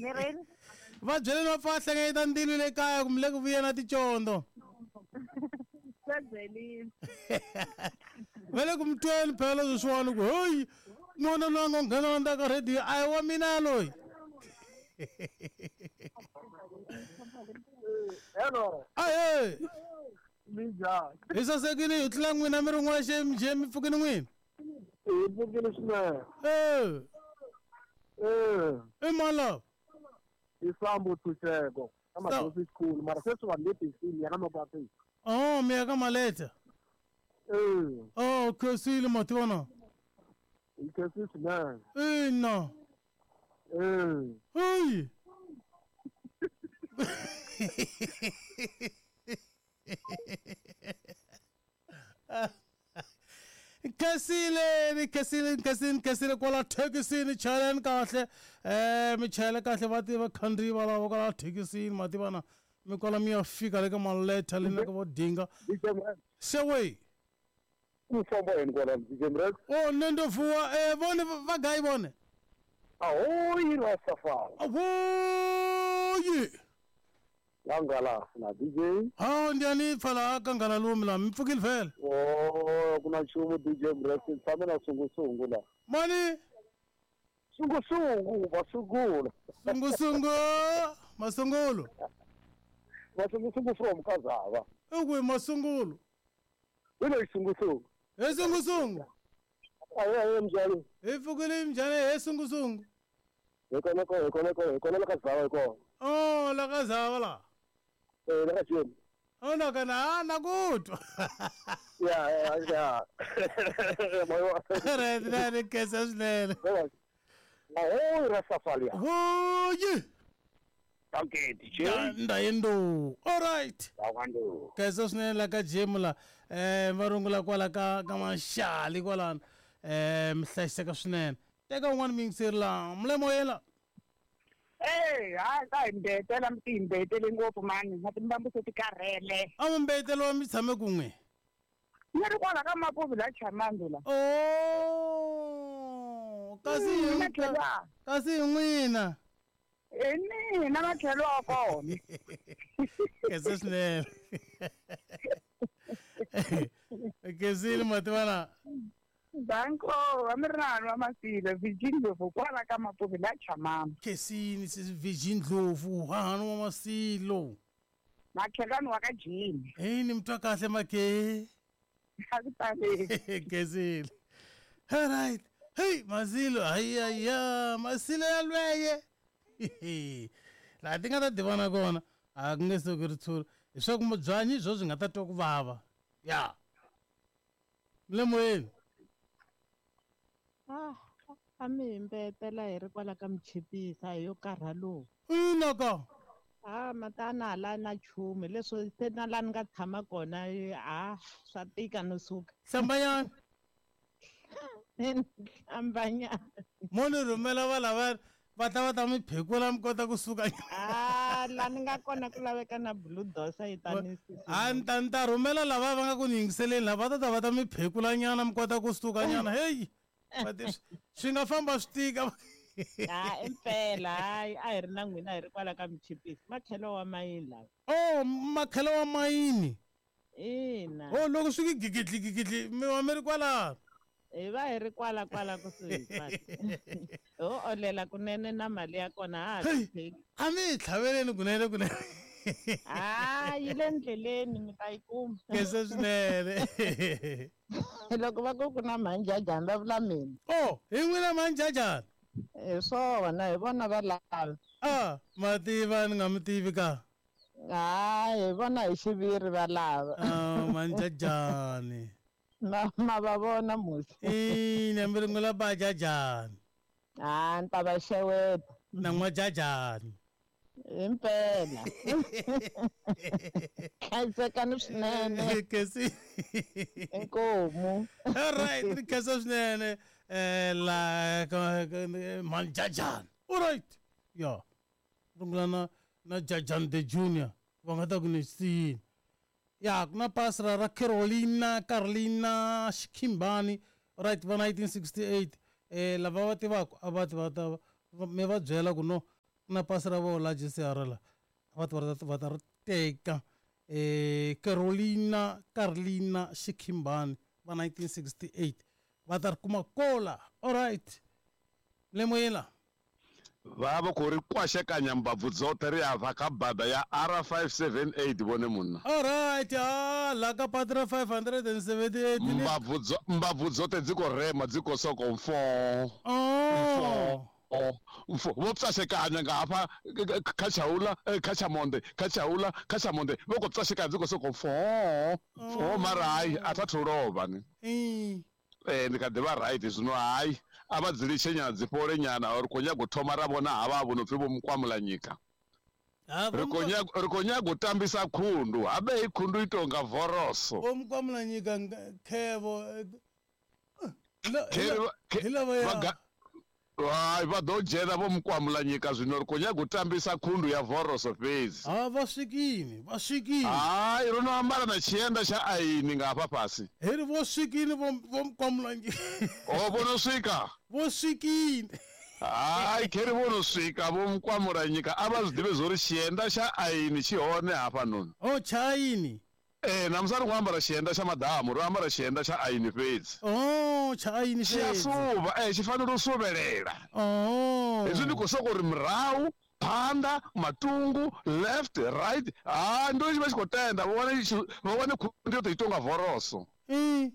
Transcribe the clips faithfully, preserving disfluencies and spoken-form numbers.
Ni rini? Va byeleni va pfa hlengeta ndilo le kaya kumbe le ku vuya na ticondo. Va byelini. Va le ku mi tweni phela sweswiwani ku heyi n'wana loyi a ngo nghena ndzhaku ka rhediyo a hi wa mina loyi. Hello. Ahe. Minjhani? Hi sasekile hi tlula n'wina mi ri n'wexe njhe mi pfukini n'wina? Hi pfukile swinene. Eh. Eh. I mani lava? I Sambo Ntshunxeko ka Madosi School mara sweswi vanhu le besini ya ka Mapapeni. Oh, mi ya ka Maleta. Eh. Oh, khensile mativana. Hi khensile swinene. Ina. Eh. Hey. Khensile, khensile, khensile, khensile kwala thekisini chayeleni kahle. Eh, mi chayela kahle va tiva khandziyi va lava kwala thekisini mativana. Mi kwala mi ya fika le ka Maleta le na ka vo Dinga. Xewe. Ku famba yini kwala D J Mrex? Oh, ne ndo vuwa eh vone va gayi vone. Ahoyi Rastafari. Ahoyi. Langala na D J. Ha ndiani pfala ka ngala lumi la mi pfukile vhele. Oh, ku na nchumu D J Mrex tshame na sungusungu la. Mani? Sungusungu masungulu. Sungusungu masungulu. Masungusungu from Kazava. Ukwe masungulu. Wena sungusungu. He sungusungu. Aye aye mjali. Hi pfukile mjani he sungusungu. Hi kona ko hi kona ko hi kona la Kazava hi kona. Oh, la Kazava la. Eh, la Kazava. Oh, na kana na kutwa. Ya ya ya. Right, right, kesa swinene. Ahoyi Rastafari. Ahoyi. Okay, D J. Ndayendo. All right. Ndawando. Kesa swinene la ka gym la. Eh, va rungula kwala ka ka Maxali kwalano. Eh, mi hlayiseka swinene. Teka un'wana miyingiseri la. Mulemo yela. Eh, hayi ka hi mbetela mi ti mbetele ngopfu mani na timbambu se ti karhele. A mi mbetelo mi tshame kun'we. Ni ri kwala ka Mapuvi la Chamambi la. Oh, kasi hi kasi hi n'wina. Hi mina matlhelo wa kona. Kesa swinene. Khensile mativana. Danko, a mi ri na wa Masilo Virgin Ndlovu kwala ka Mapuvi la Chamambi. Khensini sis Virgin Ndlovu hahani wa Masilo. Makhelwani wa ka Jimmy. Hey, ni mtwa kahle makhe. A ku taleli. Khensile. All right. Hey, Masilo, hayi ya Masilo ya lweye. Laha ti nga ta tivana kona a ku nge suki ritshuri hi swa ku mubyanyi byo byi nga ta twa ku vava ya mlemoyeni. Ah, a mi hi mbetela hi ri kwala ka Michipisa hi yo karha lowu. Ina ka. Ah, matana hala na nchumu leswi se na laha ni nga tshama kona a swa tika no suka. Hlambanyana. Hlambanyana. Mo ni rhumela va lava va ta va ta mi phekula mi kota ku suka. Ah, laha ni nga kona ku laveka na bulldozer yi ta ni A ni ta ni ta rhumela lava va nga ku ni yingiseleni lava va ta ta va ta mi phekula nyana mi kota ku suka nyana. Hey, swi nga famba swi tika. Ah, impela hayi a hi ri na n'wina hi ri kwala ka Michipisi makhelo wa mayini lawa. Oh, makhelo wa mayini. Ina. Oh, loko swi gigidli gigidli mi va mi ri kwala. Hi va hi ri kwala kwala kusuhi kwala. Ho olela kunene na mali ya kona ha ha pheki. A mi hi tlhaveleni kunene kunene. Ah, yi le ndleleni mi ta yi kuma. Kesa swinene. Loko va ku ku na manjajani va vula mina. Oh, hi n'wina manjajani. Hi swona hi vona va lava. Ah, mativa ni nga mi tivi ka. Hayi hi vona hi xiviri va lava. Ah, manjajani. Ma ma va vona musi. Ina mi ringula bajajani. Ah, ni ta va xeweta. Na n'wajajani. Impela. Hlayisekani swinene. Kesi. Inkomu. All right, ri khensa swinene eh la manjajani. All right. Ya. Rungula na na Jajan the Junior va nga ta ku ni siyini. Ya, ku na pasi ra Carolina Carolina Xikhimbani right va nineteen sixty-eight eh lava va tivaka a va ti va ta mi va byela ku no Na pasi ra vona la G C R la va ta va ta va ta ri teka eh Carolina Carlina Xikhimbani va nineteen sixty-eight va ta ri kuma kola. All right, lemoyela vha vha khou ri kwashekanya mbabvu dzoṱhe ri afha kha bada ya R five seven eight vhone munna. All right, ah la ka patra five hundred seventy-eight mbabvu dzo mbabvu dzoṱhe dzi khou rema dzi khou sokou mfo. Oh mfo vho pwashekanya nga hafha kha tshaula kha tshamonde kha tshaula kha tshamonde vho khou pwashekanya dzi khou sokou mfo mfo mara hai a tha thu lovha ni. Eh ndi kha ḓi vha right zwino hai a vha dzi litshe nyana dzi fhole nyana ri khou nyaga u thoma ra vhona havha vho no pfi vho Mukwamulanyika. Ri khou nyaga ri khou nyaga u tambisa khundu habe i khundu i tonga voroso. Vho Mukwamulanyika khevo hai vha ḓo dzhena vho Mukwamulanyika zwino ri khou nyaga u tambisa khundu ya voroso fhedzi. Ha vha swikini vha swikini. Hai ro no ambara na tshienda tsha aini nga hafha fhasi. Heri vho swikini vho vho Mukwamulanyika. O vho no swika. Vho swikini. Hai kheri vho no swika vho Mukwamulanyika a vha zwi ḓivhe zwo ri tshienda tsha aini tshi hone hafha noni. O tsha aini. Eh na musi ri khou ambara tshienda tsha madamu ro ambara tshienda tsha aini fhedzi. Oh tsha aini fhedzi. Tshi a suvha eh tshi fanela u suvhelela. Oh hezwi ndi khou sokou ri murahu phanḓa matungu left right ha ndo tshi vha tshi khou tenda vha wane vha wane khundu yo tou ita unga voroso. Mm.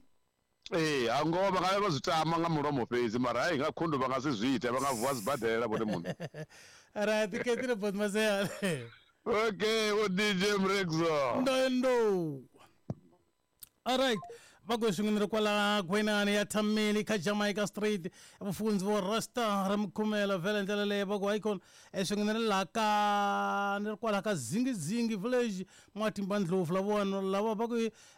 Eh a ngoho vha nga vha zwi tama nga mulomo fhedzi mara hai nga khundu vha nga si zwi ite vha nga vuwa sibadela vhone muṋe. Right ketile bot masea. Okay, o D J Mrexo. Ndo ndo. All right. Vha swingini ri kwala Gwenani ya Thameli kha Jamaica Street vhufunzi vho Rasta ri mukhumela vhele ndlela leyi va ku icon eswingini ri la ka ni ri kwala ka Zingizingi village Mwatimba Ndlovu la vona lava va ku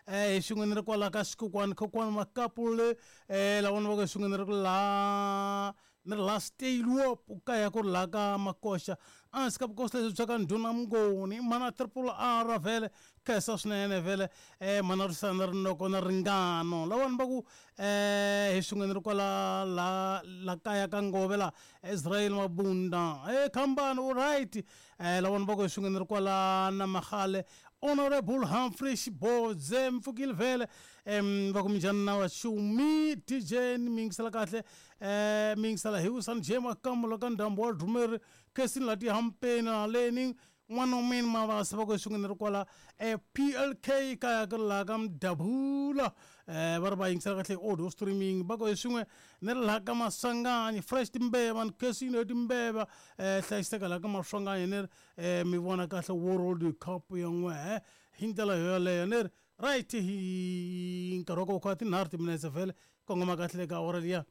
eh swingini ri kwala ka Xikokwani Khokwani Makapule eh la vona va ku swingini ri la ni ri la Steyloop kaya ku ri la ka Makosha a swi ka vukosi leswi bya ka Ndhuna Mngoni mana triple R vhele khensa swinene vhele eh mana risana rinoko na ringano lawani va ku eh hi swin'wana ri kwala la la kaya ka Ngove la Israel Mabunda eh khambani u right eh lawani va ku hi swin'wana ri kwala na Magale Honorable Humphrey Xibodze mpfukile vhele em va ku minjhani na waxumi D J ni mi yingisela kahle eh mi yingisela hi San J Makamulo ka ndhambu wa Drumeri Kesini la tihampeni haleni n'wana wa mina Mavasa va ku hi swin'wana ri kwala eh P L K kaya ku la ka Mdabula eh va ri va yingisela kahle audio streaming va ku hi swin'we ni ri laha ka Maswanganyi fresh timbeva ni Kesini timbeva eh hlayiseka laha ka Maswanganyi ni ri eh mi vona kahle World Cup ya n'we hi ndlela yoyaleyo ni ri right hi nkarhi wa ku kha tinharhu timinetse vhele kongoma kahle ka awara liya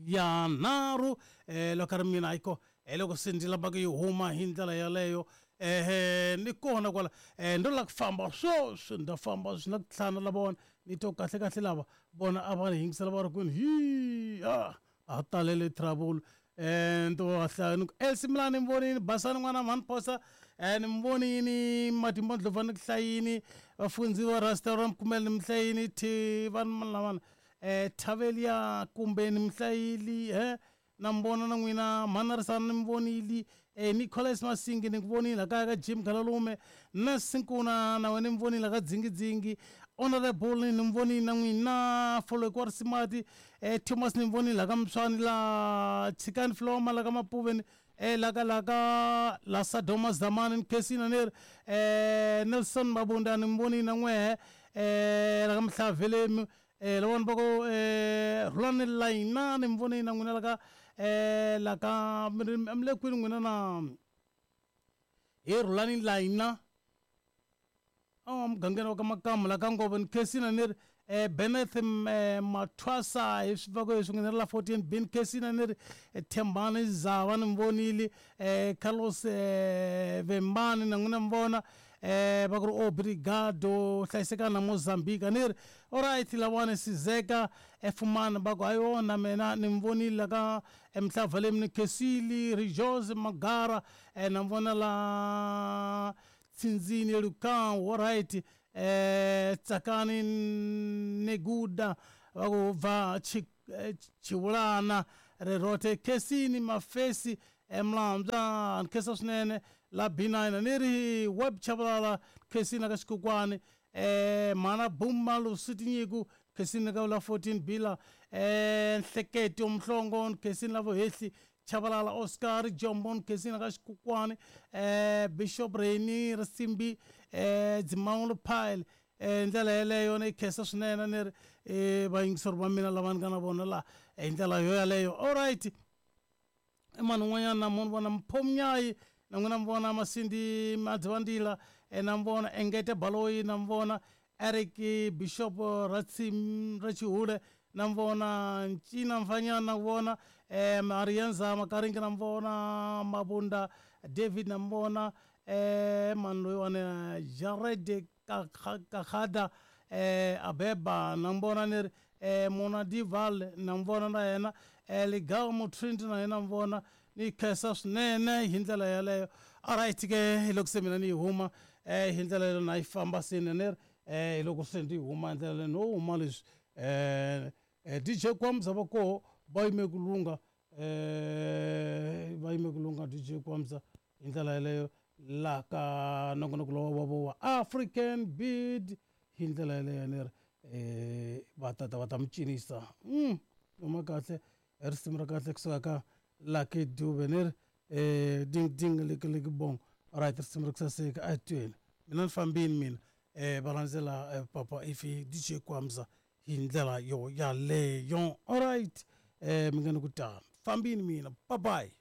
ya nharhu eh loko ri mina ayiko eh loko se ndzi lavaka yi huma hi ndlela yaleyo eh ni kona kwala eh ndo la ku famba sweswi nda famba swi na ku tlhana la vona ni to kahle kahle lava vona a va ni yingisela va ri kwini hi a a talele trouble eh nto hlaya ni ku Elsie Mlani ni vonini Basani n'wana mhani Phosa eh ni vonini Matimba Ndlovu ni ku hlayini vafundzi va Rasta ra Mkhumela ni mhlayini thi vanhu lavana eh Thavelia kumbe ni mhlayili eh na mbona na n'wina Mhanarisana ni mi vonile eh Nicholas Masingi ni ku vonile kaya ka Jim Khalalume na Sinkuna na wena ni mi vonile ka Dzingidzingi Honorable ni mi vonile na n'wina Foloko wa Risimati eh Thomas ni mi vonile ka Mswani la Chikani Floma la ka Mapuveni eh la ka la ka la Sadoma Zamani ni Kesina ni ri eh Nelson Mabunda ni mi vonile na n'wehe eh la ka Mhlavelemi eh lawani va ku eh Rhulani Layina ni mi vonile na n'wina la ka eh la ka mi le kwini n'wina na hi Rhulani Layina a mugangeni wa ka Makamu la ka Ngove ni Kesina ni ri eh Beneth Mathwasa hi swi va ku hi swin'we ni ri la fourteen B ni Kesina ni ri Thembani Zava ni mi vonile eh Carlos eh Vembani na n'wina mi vona eh va ku ri obrigado hlayisekana na Mozambique ni ri alright lawani Sizeka efumana va ku hayona mina ni mi vonile la ka Mhlavaleni ni Kesili Rejoice Magara eh na mi vona la Tsindzini Lukang alright eh Tsakani Neguda va ku bva Chivulana Rerote Kesini Mafesi Mlambya ni khensa swinene la B nine ni ri web chavalala khensini ka xikokwani eh mana buma lusitinyiko khensini ka la fourteen bila eh nhleketo mhlongo khensini la vohehli Chavalala Oscar Jombo khensini ka xikokwani eh Bishop Reni Risimbi eh Dzimawulo Pile eh ndlela yeleyo ni khensa swinene ni ri eh vayingiseri va mina lava ni nga na vona la hi ndlela yo yaleyo. All right, i mani un'wanyana na munhu vona Mphomnyayi na n'wina mi vona Masindi Madzivandila na mi vona Engete Baloyi na mi vona Eric Bishop Ratsim Rachihule na mi vona Ncina Mfanyana na vona eh Marianza Makaringi na mi vona Mabunda David na mi vona eh mani loyiwani Jared Kakada eh Abeba na mi vona ni ri eh Mona Dival na mi vona na yena eh Ligaw Mutrindi na yena mi vona ni khensa swinene hi ndlela yeleyo. Alright ke hi loko se mina ni yi huma eh hi ndlela yeleyo na yi famba sine ni ri eh hi loko se ndi huma hi ndlela leyo no huma leswi eh D J Kwamza va koho va yime ku lungha eh va yime ku lungha D J Kwamza hi ndlela yeleyo la ka nongonoko lowa wa vo wa African Beat hi ndlela yeleyo ni ri eh va tata va ta mi cinisa mm noma kahle risimu ra kahle kusuka ka Lucky Dube ni ri eh ding ding leke leke bong. Alright, risimu ra ku saseka a hi tweli mina ni fambini mina eh va landzela papa ifi D J Kwamza hi ndlela yo yaleyo. Alright, eh mi nga ni ku tano fambini mina, bye bye.